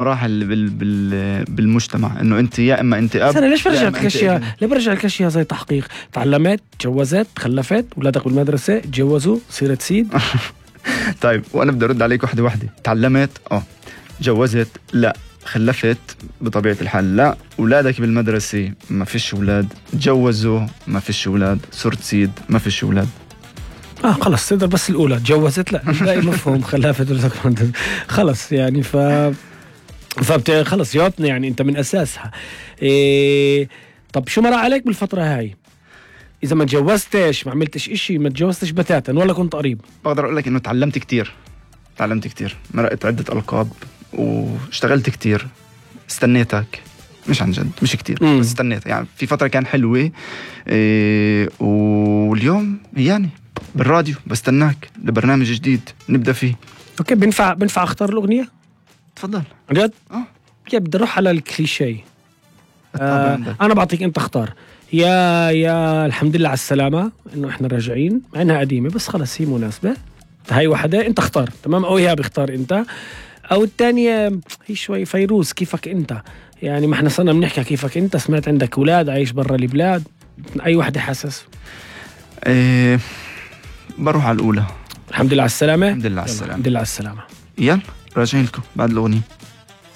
مراحل بالمجتمع، انه انت يا اما انت اب. انا ليش برجع الاشياء؟ ليه برجع الاشياء زي تحقيق؟ تعلمت، تجوزت، خلفت، اولادك بالمدرسه، تجوزوا، صيرت سيد. طيب وانا بدي ارد عليك وحده. تعلمت جوزت لا، خلفت بطبيعه الحال لا، اولادك بالمدرسه ما فيش اولاد، تجوزوا ما فيش اولاد، صرت سيد ما فيش اولاد. خلص تقدر بس الاولى تجوزت لا باقي مفهوم خلفت خلص يعني خلص جاوبنا يعني انت من اساسها. طب شو مر عليك بالفتره هاي؟ اذا ما تجوزتش ما عملتش اشي، ما تجوزتش بتاتا ولا كنت قريب؟ بقدر اقول لك انه تعلمت كتير، مرقت عده القاب واشتغلت كتير. استنيتك، مش عن جد مش كتير بس استنيت يعني. في فتره كان حلوه واليوم يعني بالراديو بستناك لبرنامج جديد نبدا فيه. اوكي، بنفع اختار الاغنيه؟ تفضل. جد؟ بدي اروح على الكليشيه. انا بعطيك انت اختار. يا الحمد لله على السلامه انه احنا راجعين، مع انها قديمه بس خلص هي مناسبه. هاي وحده انت اختار، تمام؟ او اياها بيختار انت، او الثانيه هي شوي فيروز كيفك انت يعني. ما احنا صرنا بنحكي كيفك انت، سمعت عندك اولاد عايش برا البلاد، اي وحده حاسس؟ بروح على الاولى. الحمد لله على السلامه. الحمد لله على السلامه. الحمد لله على السلامه. يلا راجعين لكم بعد الاغنيه.